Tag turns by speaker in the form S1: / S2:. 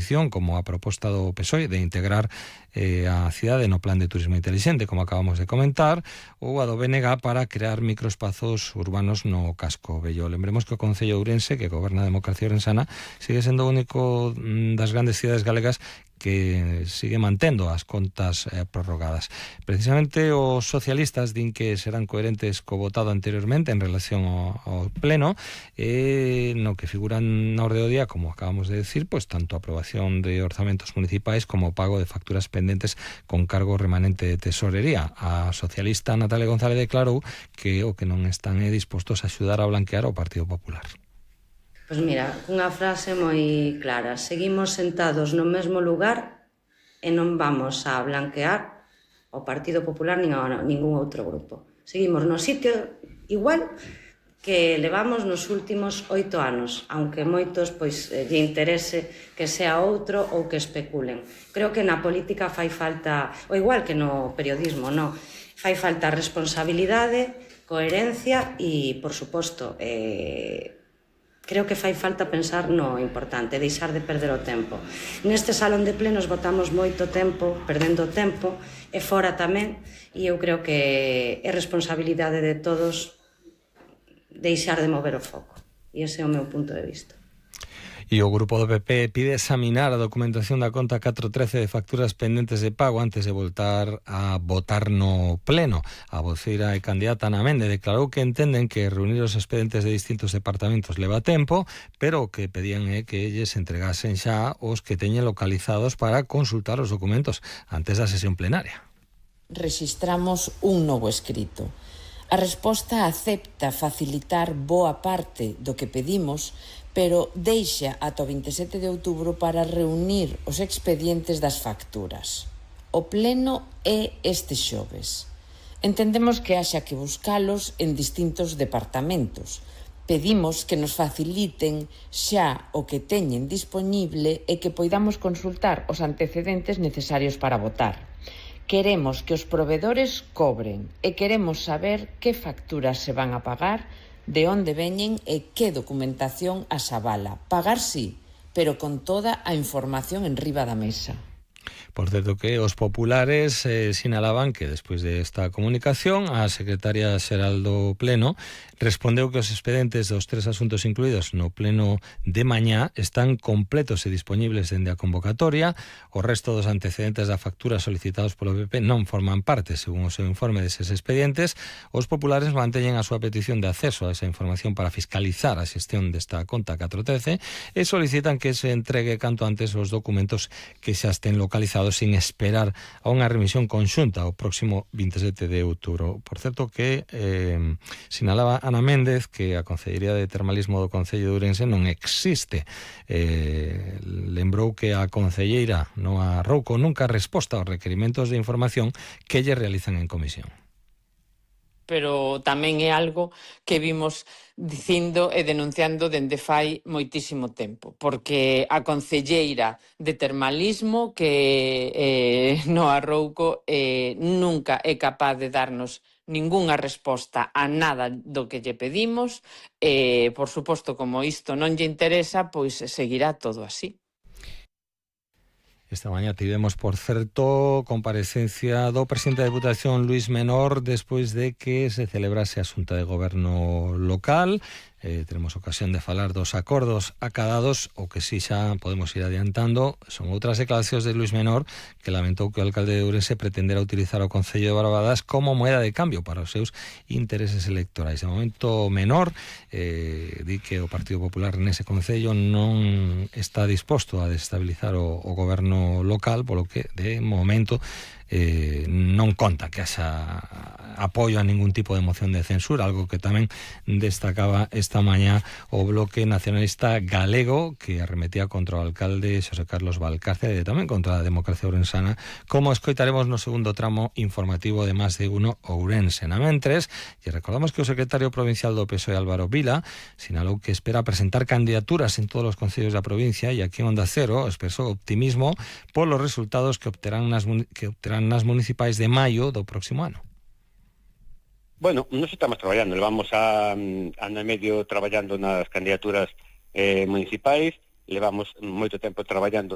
S1: oposición, como a proposta do PSOE de integrar a cidade no plan de turismo inteligente, como acabamos de comentar, ou a do BNG para crear microespazos urbanos no casco vello. Lembremos que o Concello de Ourense, que goberna a democracia ourensana, sigue sendo o único das grandes cidades galegas que sigue mantendo as contas prorrogadas. Precisamente os socialistas din que serán coherentes co votado anteriormente en relación ao pleno, no que figuran na orde do día, como acabamos de decir, pues tanto a aprobación de orzamentos municipais como o pago de facturas pendentes con cargo remanente de tesorería. A socialista Natalia González declarou que o que non están dispostos a axudar a blanquear ao Partido Popular.
S2: Pois mira, unha frase moi clara: seguimos sentados no mesmo lugar e non vamos a blanquear o Partido Popular nin a ningún outro grupo. Seguimos no sitio igual que levamos nos últimos 8 anos, aunque moitos pois lle interese que sea outro ou que especulen. Creo que na política fai falta, ou igual que no periodismo, no, fai falta responsabilidade, coherencia e, por suposto, creo que fai falta pensar no importante, deixar de perder o tempo. Neste salón de plenos botamos moito tempo, perdendo tempo, e fora tamén, e eu creo que é responsabilidade de todos deixar de mover o foco. E ese é o meu punto de vista.
S1: E o grupo do PP pide examinar a documentación da conta 413 de facturas pendentes de pago antes de voltar a votar no pleno. A voceira e candidata Ana Méndez declarou que entenden que reunir os expedientes de distintos departamentos leva tempo, pero o que pedían é que elles entregasen xa os que teñen localizados para consultar os documentos antes da sesión plenaria.
S3: Rexistramos un novo escrito. A resposta acepta facilitar boa parte do que pedimos, pero deixa ata o 27 de outubro para reunir os expedientes das facturas. O pleno é este xoves. Entendemos que haxa que buscalos en distintos departamentos. Pedimos que nos faciliten xa o que teñen dispoñible e que poidamos consultar os antecedentes necesarios para votar. Queremos que os provedores cobren e queremos saber que facturas se van a pagar, de onde veñen e que documentación as avala. Pagar sí, pero con toda a información enriba da mesa.
S1: Por certo que os populares sinalaban que despois desta comunicación a secretaria xeral do Pleno respondeu que os expedientes dos 3 asuntos incluídos no Pleno de mañá están completos e dispoñibles dende a convocatoria. O resto dos antecedentes da factura solicitados polo PP non forman parte, según o seu informe, deses expedientes. Os populares manteñen a súa petición de acceso a esa información para fiscalizar a xestión desta conta 413 e solicitan que se entregue canto antes os documentos que xa estén localizados sin esperar a unha remisión conxunta o próximo 27 de outubro. Por certo que sinalaba Ana Méndez que a Concellería de Termalismo do Concello de Ourense non existe. Lembrou que a concelleira Noa Rouco nunca resposta aos requerimentos de información que lle realizan en comisión.
S3: Pero tamén é algo que vimos dicindo e denunciando dende fai moitísimo tempo, porque a concelleira de Termalismo que Noa Rouco nunca é capaz de darnos ningunha resposta a nada do que lle pedimos, por suposto, como isto non lle interesa, pois seguirá todo así.
S1: Esta mañá tivemos, por certo, comparecencia do presidente da Deputación, Luís Menor, despois de que se celebrase a Xunta de Goberno local. Teremos ocasión de falar dos acordos acadados. O que si xa podemos ir adiantando son outras declaracións de Luís Menor, que lamentou que o alcalde de Ourense pretendera utilizar o Concello de Barbadas como moeda de cambio para os seus intereses electorais. De momento, Menor di que o Partido Popular nese Concello non está disposto a desestabilizar o goberno local, polo que de momento non conta que haxa apoio a ningún tipo de moción de censura, algo que tamén destacaba esta mañá o Bloque Nacionalista Galego, que arremetía contra o alcalde Xosé Carlos Valcárcel e tamén contra a democracia ourensana, como escoitaremos no segundo tramo informativo de Más de Uno Ourense. Na mentres, e recordamos que o secretario provincial do PSOE, Álvaro Vila, sinalou que espera presentar candidaturas en todos os concellos da provincia e aquí en Onda Cero expresou optimismo polos resultados que obterán nas municipais de maio do próximo ano.
S4: Bueno, nos estamos traballando, levamos ano e medio traballando nas candidaturas municipais, levamos moito tempo traballando